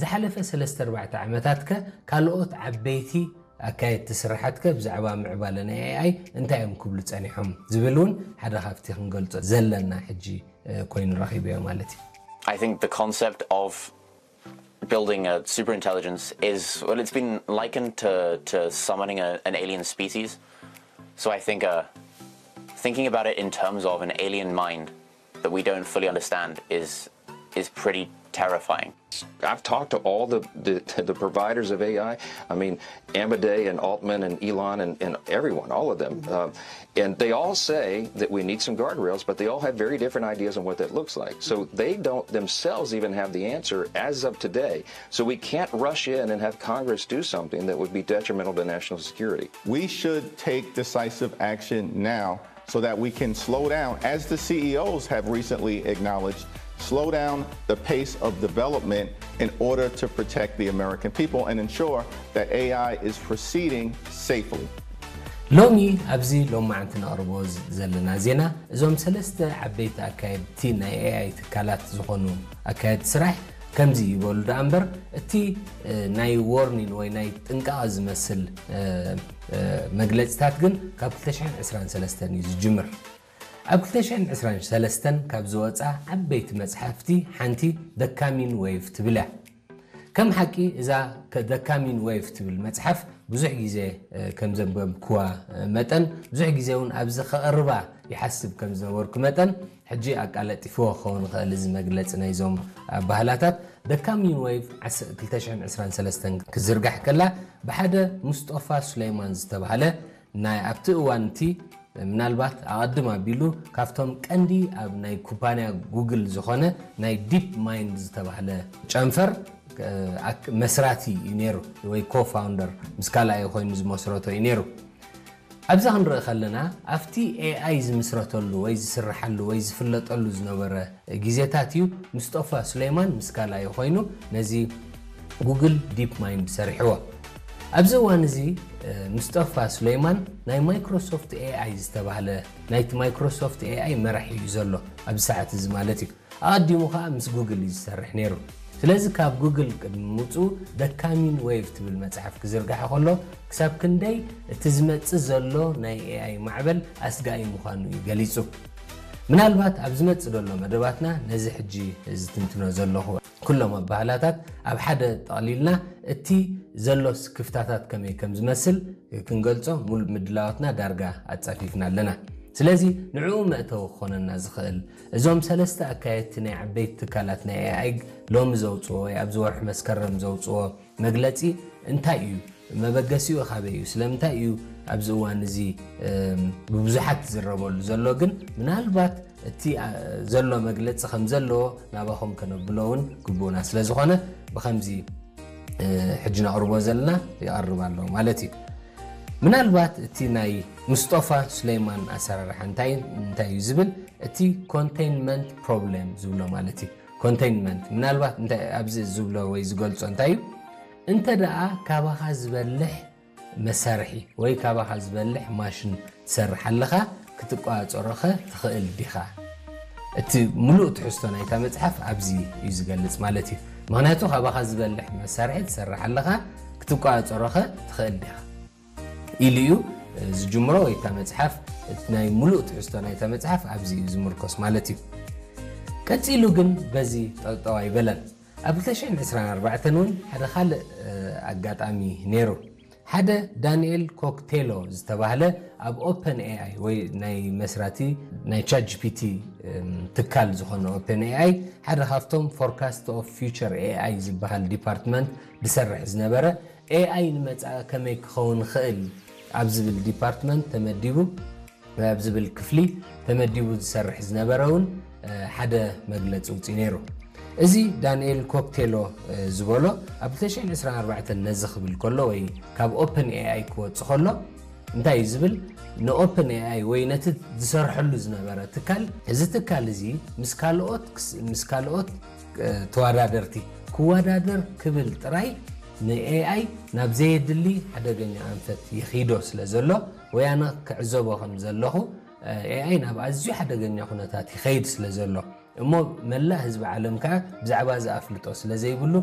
ዝሓለፈ ሰለስተ ኣርባዕተ ዓመታት ከ ካልኦት ዓበይቲ ኣካየድቲ ስራሓት ከ ብዛዕባ ምዕባለ ናይ ኤኣይ እንታይ እዮም ክብሉ ጸኒሖም ዝብል እውን ሓደ ካብቲ ክንገልጾ ዘለና ሕጂ ኮይኑ ረኺበዮ ማለት እዩ። I think the concept of building a superintelligence is, well, it's been likened to, to summoning a, an alien species. So I think uh, thinking about it in terms of an alien mind that we don't fully understand is is pretty terrifying. I've talked to all the, the, the providers of A I. I mean, Amaday and Altman and Elon and, and everyone, all of them. Um, and they all say that we need some guardrails, but they all have very different ideas on what that looks like. So they don't themselves even have the answer as of today. So we can't rush in and have Congress do something that would be detrimental to national security. We should take decisive action now so that we can slow down, as the C E Os have recently acknowledged, slow down the pace of development in order to protect the American people and ensure that A I is proceeding safely. ሎሚ ኣብዚ ሎማዓንቲ ነቕርቦ ዘለና ዜና እዞም ሰለስተ ዓበይቲ ኣካየድቲ ናይ ኤኣይ ትካላት ዝኾኑ ኣካየድቲ ስራሕ ከምዚ ይበሉ ደኣ እምበር እቲ ናይ warning ወይ ናይ ጥንቃቐ ዝመስል መግለፅታት ግን ካብ ክልተ ሽሕን ዕስራን ሰለስተን እዩ ዝጅምር። ኣብ ክልተ ሽሕን ዕስራን ሰለስተን ካብ ዝወፃ ዓበይቲ መፅሓፍቲ ሓንቲ The Coming Wave ትብል እያ። ከም ሓቂ እዛ The Coming Wave ትብል መፅሓፍ ብዙሕ ግዜ ከም ዘንበብክዋ መጠን ብዙሕ ግዜ እውን ኣብዚ ከቕርባ ይሓስብ ከም ዝነበርኩ መጠን ሕጂ ኣቃለጢፍዎ ክኸውን ይኽእል እዚ መግለፂ ናይዞም ኣባህላታት። The Coming Wave ክልተ ሽሕን ዕስራን ሰለስተን ክዝርጋሕ ከላ ብሓደ ሙስጦፋ ሱለይማን ዝተባህለ ናይ ኣብቲ እዋን እቲ ምናልባት ኣቐድም ኣቢሉ ካብቶም ቀንዲ ኣብ ናይ ኩባንያ ጉግል ዝኾነ ናይ ዲፕ ማይንድ ዝተባህለ ጨንፈር መስራቲ እዩ ነይሩ ወይ ኮፋውንደር ምስ ካልኣይ ኮይኑ ዝመስረቶ እዩ ነይሩ። ኣብዚ ክንርኢ ከለና ኣብቲ ኤኣይ ዝምስረተሉ ወይ ዝስርሓሉ ወይ ዝፍለጠሉ ዝነበረ ግዜታት እዩ ምስጦፋ ሱሌይማን ምስ ካልኣዩ ኮይኑ ነዚ ጉግል ዲፕ ማይንድ ሰሪሕዎ። ኣብዚ እዋን እዚ ምስጦፋ ሱሌይማን ናይ ማይክሮሶፍት ኤኣይ ዝተባህለ ናይቲ ማይክሮሶፍት ኤኣይ መራሒ እዩ ዘሎ ኣብዚ ሰዓት እዚ ማለት እዩ። ኣቐዲሙ ከዓ ምስ ጉግል እዩ ዝሰርሕ ነይሩ። ስለዚ ካብ ጉግል ቅድሚ ምውፅኡ The Coming Wave ትብል መፅሓፍ ክዝርጋሐ ከሎ ክሳብ ክንደይ እቲ ዝመፅእ ዘሎ ናይ ኤኣይ ማዕበል ኣስጋኢ ምዃኑ እዩ ገሊፁ። ምናልባት ኣብ ዝመፅእ ዘሎ መደባትና ነዚ ሕጂ ዝትንትኖ ዘለኹ ኩሎም ኣባህላታት ኣብ ሓደ ጠቕሊልና እቲ ዘሎ ክፍታታት ከመይ ከም ዝመስል ክንገልጾ ሙሉእ ምድላዋትና ዳርጋ ኣጻፊፍና ኣለና። ስለዚ ንዕኡ መእተዊ ክኾነና ዝኽእል እዞም ሰለስተ ኣካየድቲ ናይ ዓበይቲ ትካላት ናይ ኤኣይ ሎሚ ዘውፅዎ ወይ ኣብዚ ወርሒ መስከረም ዘውፅዎ መግለፂ እንታይ እዩ? መበገሲኡ ካበይ እዩ? ስለምንታይ እዩ ኣብዚ እዋን እዚ ብብዙሓት ዝዝረበሉ ዘሎ? ግን ምናልባት እቲ ዘሎ መግለፂ ከም ዘለዎ ናባኹም ከነብሎ እውን ግቡእና ስለ ዝኾነ ብኸምዚ ሕጂ ነቕርቦ ዘለና ይቐርብ ኣሎ ማለት እዩ። ምናልባት እቲ ናይ ምስጦፋ ሱሌይማን ኣሰራርሓ እንታይ እንታይ እዩ ዝብል እቲ ኮንቴይንመንት ፕሮብሌም ዝብሎ ማለት እዩ። ኮንቴይንመንት ምናልባት እንታይ ኣብዚ ዝብሎ ወይ ዝገልጾ እንታይ እዩ እንተ ደኣ ካባኻ ዝበልሕ መሳርሒ ወይ ካባኻ ዝበልሕ ማሽን ትሰርሕ ኣለኻ ክትቋጸሮኸ ትኽእል ዲኻ? እቲ ሙሉእ ትሕዝቶ ናይታ መጽሓፍ ኣብዚ እዩ ዝገልጽ ማለት እዩ። ምኽንያቱ ካባኻ ዝበልሕ መሳርሒ ትሰርሕ ኣለኻ ክትቋጸሮኸ ትኽእል ዲኻ ኢሉ እዩ ዝጅምሮ ወይ እታ መጽሓፍ ናይ ሙሉእ ትሕዝቶ ናይታ መጽሓፍ ኣብዚ እዩ ዝምርኮስ ማለት እዩ። ቀጺሉ ግን በዚ ጠጠው ኣይበለን። ኣብ ክልተ ሽሕን ዕስራን ኣርባዕተን እውን ሓደ ካልእ ኣጋጣሚ ነይሩ። ሓደ ዳንኤል ኮክቴሎ ዝተባህለ ኣብ ኦፐን ኤኣይ ወይ ናይ መስራቲ ናይ ቻት ጂፒቲ ትካል ዝኾነ ኦፐን ኤኣይ ሓደ ካብቶም ፎርካስት ኦፍ ፊውቸር ኤኣይ ዝበሃል ዲፓርትመንት ዝሰርሕ ዝነበረ ኤኣይ ንመጻኢ ከመይ ክኸውን ይኽእል ኣብ ዝብል ዲፓርትመንት ተመዲቡ ኣብ ዝብል ክፍሊ ተመዲቡ ዝሰርሕ ዝነበረ እውን ሓደ መግለፂ ውፅኢ ነይሩ። እዚ ዳንኤል ኮክቴሎ ዝበሎ ኣብ ክልተ ሽሕን ዕስራን ኣርባዕተን ነዚ ክብል ከሎ ወይ ካብ ኦፕን ኤኣይ ክወፅ ከሎ እንታይ እዩ ዝብል ንኦፕን ኤኣይ ወይ ነቲ ዝሰርሐሉ ዝነበረ ትካል እዚ ትካል እዚ ምስ ካልኦት ምስ ካልኦት ተወዳደርቲ ክወዳደር ክብል ጥራይ ንኤኣይ ናብ ዘየድሊ ሓደገኛ ኣንፈት ይኺዶ ስለ ዘሎ ወይ ኣነ ክዕዘቦ ከም ዘለኹ ኤኣይ ናብ ኣዝዩ ሓደገኛ ኩነታት ይኸይድ ስለ ዘሎ እሞ መላእ ህዝቢ ዓለም ከኣ ብዛዕባ እዚ ኣፍልጦ ስለ ዘይብሉ